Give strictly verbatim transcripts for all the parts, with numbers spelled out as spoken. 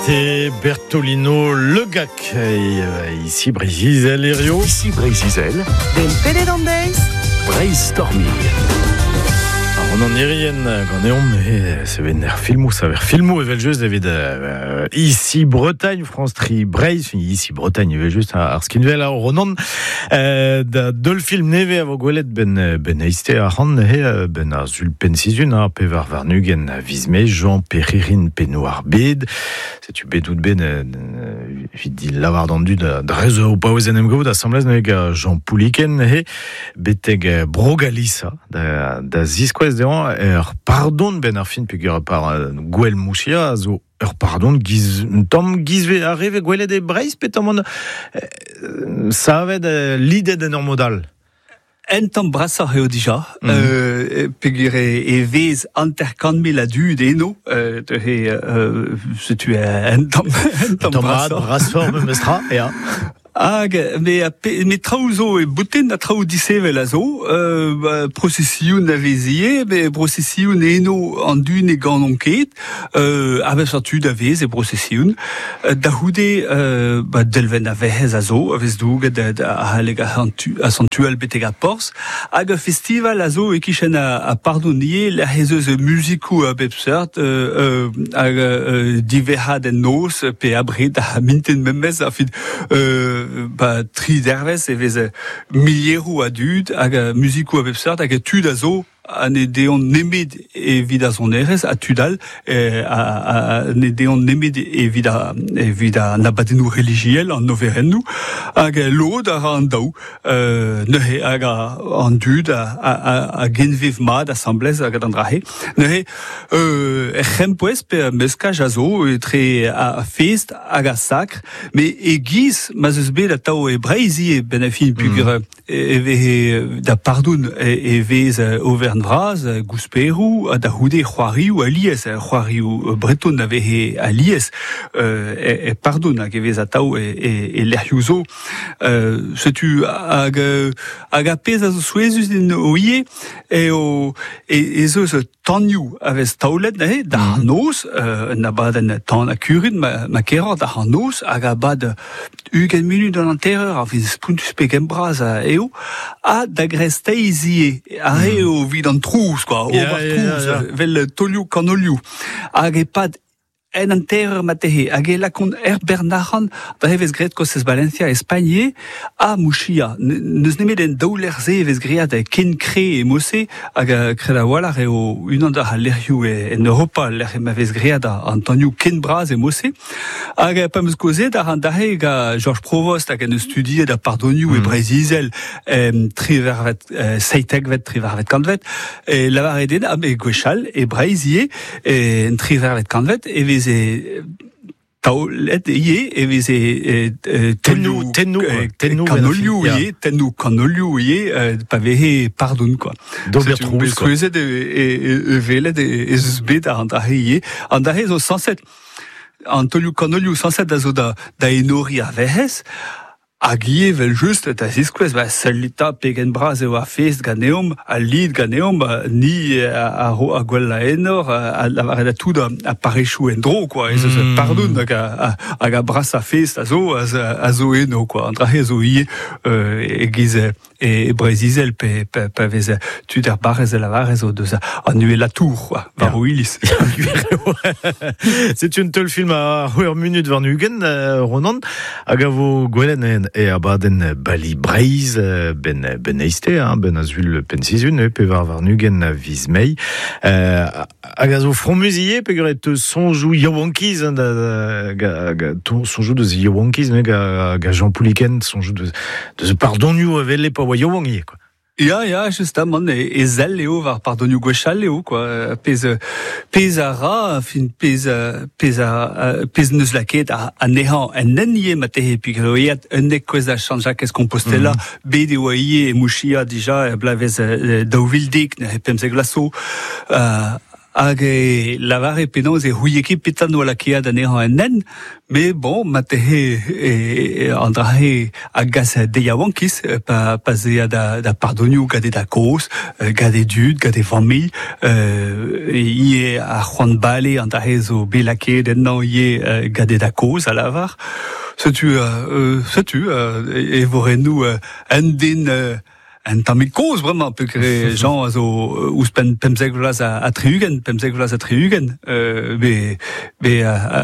C'était Bertolino Legac, et ici Breizh-Izel Hirio. Ici Breizh-Izel. Den Pele Brainstorming. Ronan Irien ganeomp e sevener filmoù, saver filmoù evel just evit euh, ici Bretagne, France Tri Breizh, ici Bretagne evel just ar skinvel ar Ronan euh, da deul film neve a vo gwelet ben ben eiste ar c'han he ben ar zul pen sizun ar pevar varnugen a viz mae Jean Perririn penno ar bed setu bet out ben evit di lavar d'an dud da rezo o paouez en em gaout asamblez neuze ga Jean Pouliken he beteg Brogalisa da, da ziskouez dezhañ ur pardon ben ar fin peogwir par gwell mouchia a zo ur pardon giz un tamm gizve a reve gwelet e Breizh pe tamm on savet lidet en ur modal. En tamm brasoc'h eo dija, mm -hmm. euh, peogwir e vez hanter kant mil a dud eno, euh, euh, setu en tamm, en tamm brasoc'h. Brasoc'h memestra, ya. Hag, me, me traoù zo e boutin a traoù disevel a zo, euh, prosesioun a vezie, me prosesioun eno an dun e gant on ket, euh, a vez tud a vez e prosesioun, da c'houde euh, ba, delven a vehez a zo, a vez douget a haleg a, a santual betek a porz, hag a festival a zo e kichen a, a pardonnier, la hez eus musikou a bep seurt, euh, hag euh, diverad en noz, pe abred a minten memez, a fin, euh, ba, tri dervez e vez milieroù a dud hag musikou a bep seurt hag tud a zo a ne deont nemet evit a sonerezh a tud all eh, a, a ne deont nemet evit a evit a abadennoù relijiel an overennoù hag lod a ra an daou euh, neuze hag a, an dud a, a, a, a genvev mat asamblez hag an drahe neuze euh, er c'hempouez pe meskaj a zo etre a fest hag a sakr me e giz ma zeus bet atao e Breizh e ben a fin pugur mm. e vez da pardon e, e vez over vraz, gousperou, da c'houde c'hoarioù alies, c'hoarioù breton a veze alies, euh, e, e pardon hag e vez atao e, e, e lec'hioù zo. Euh, setu hag, hag a pezh a zo souezhus din o ie, e, o, e, e zo eus tanioù a vez taolet neuze, da ar noz, euh, un abadenn tan a kurun, ma, ma keroc'h da ar noz, hag abad ugent munut an hantereur, ar vez spountus pe bras eo, ha da gresteiz ie, ar re eo vid an trouz, quoi, yeah, ober yeah, trouz, yeah, yeah. vel tolioù kanolioù. Hag e pad en hantereur matehe, hag e lakont er Bernac'han, da e vez graet kostez Valencia, Espagne, ha Mouchia. N'eus nemet en daou lec'h-se e vez graet ken kre e mose, hag kred a-walc'h eo unan da lec'hioù en Europa, lec'h ma vez graet an tanioù ken bras e mose. Hag pa meus kozet ar an dahe ga Georges Provost hag en eus studiet a pardonioù mm. e Breizh-Izel, eh, trivervet, eh, seitekvet, trivervet kantvet, e lavaret den, ah, me gwechall, e Breizh ivez, e, en trivervet kantvet, e vez e taolet ivez e veze tennoù tennoù tennoù kanolioù ivez tennoù kanolioù ivez pa veze pardon quoi d'ober trouz quoi souezhet e e velet e eus bet ar an drahe ivez an drahe zo sañset an tolioù kanolioù sañset a zo da da enori ar vehez hag ivez vel just da ziskouez ba sellita pegen bras eo ar fest ganeomp al lid ganeomp ni a ro a gwell a enor a lavaret a tout a parechou en dro quoi ez eus mm. pardon hag a hag a bras a fest a zo a zo eno quoi an drahe zo ivez e giz e Breizh-Izel pe pe pa vez tud ar barrez e lavarez o deus an uhel a tour quoi war o iliz. C'est un teul film a c'hwec'h munut war ugent Ronan hag a vo gwelet en e abadenn Bali Breizh ben ben eiste hein, ben azul pen sizun pe war war ugent a viz mae euh, hag a zo fromuz ivez peogwir e teu soñjoù yaouankiz hein, da, ga, ga, soñjoù deus yaouankiz ne ga, ga Jean Pouliken soñjoù deus deus pardonioù evel e pa oa yaouank ivez quoi. Ya, ya, justement, e, e zell eo war pardonioù gwechall eo, quoi. Pezh, pezh a ra, fin, pezh, pezh a, pezh neus lakaet a, anezhañ en en ivez matehe, peogwir eo eat unnek kwezh da Saint-Jacques Compostela, mm. bet eo ivez e Mouchia dija, e blavez daou vil dek, neuze pemzek vloaz zo, euh, Hag e lavare penaos e c'houie ket petra noa lakaet anezhañ en hent, mais bon, ma tehe e, an drahe a gas de yaouankiz, pa, pa zea da, da pardonioù gant e da kozh, gant e dud, gant e familh, euh, ie a c'hoant bale an drahe zo bet lakaet ennañ ie gant e da kozh a lavar. Setu, euh, setu, euh, e vorennoù euh, un den euh, un tammig kozh bremañ peogwir Jean a zo ouzhpenn pemzek vloaz a, a tri-ugent, pemzek vloaz a tri-ugent, euh, be, be a, a,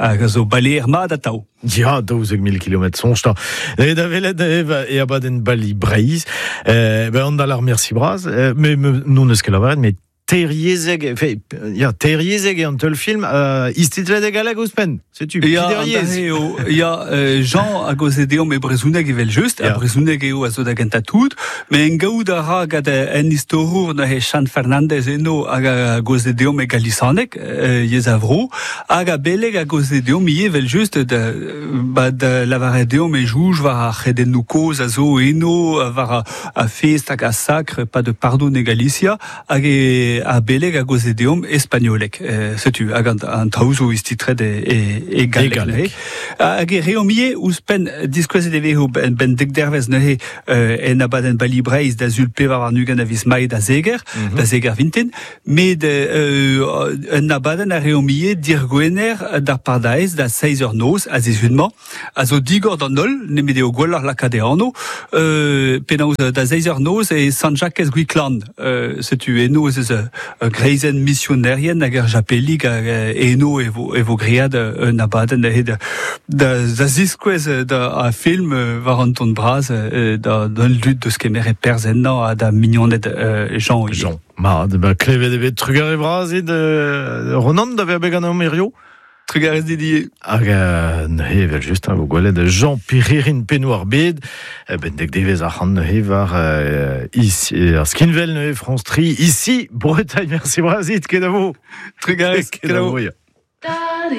a, a zo baleer mat atav. Ya, daouzek mil kilometr soñj ta. E da welet e abadenn Bali Breizh, euh, ben an dalar merci bras, euh, mais non eus ket lavaret, mais Teiriezeg, fe, ya, teiriezeg e an teul film, euh, istitlet e galleg ouzhpenn, setu, Ya, eo, ya, euh, Jean a goze deomp e brezhoneg evel just, a brezhoneg eo a zo da gentañ tout, met en gaout a ra gant en istorour neuze Chan Fernandez eno hag a goze deomp e galisaneg, euh, yezh a vro, hag a beleg a goze deomp ivez evel just da, ba, da lavaret deomp e jouj war ar c'hredennoù kozh a zo eno, war a, a fest hag a sakr, pa de pardon e Galicia, hag e a beleg a goze deomp espagnolek. Euh, setu, hag an, an traoù zo istitret e, e, e galleg. E galleg. Hag e reomp ivez ouzhpenn diskouezet e vezo ben, ben dek dervez neuze euh, en abadenn Bali Breizh da sul pevar warn-ugent a viz Mae da zeger, mm -hmm. da zeger vintin, met euh, un abadenn a reomp ivez dir gwener d'ar pardaez da seizh eur noz a zizhun-mañ, a zo digor d'an holl, nemet eo gwelloc'h lakaat e anv, euh, penaos da seizh eur noz e Sant-Jakez Gwiklan, euh, setu eno ez eus greizenn misionerien hag ar japelig hag eno e vo, e vo great un abadenn da, da, da ziskouez da a film war an ton bras da, da lud deus kemer e perzh ennañ ha da mignoned Jean. Jean. Ma, ba klevet eo bet trugarez bras eo de Ronan da vezañ bet ganeomp hirio. Trugarez Didier. Hag euh, neuze evel just a vo gwelet Jean Pirhirin pennoù ar bed, ben dek devez ar c'hant neuze war euh, ici, ar skinvel neuze France Tri, ici Bretagne, merci bras ket a vo. Trugarez, ket a vo.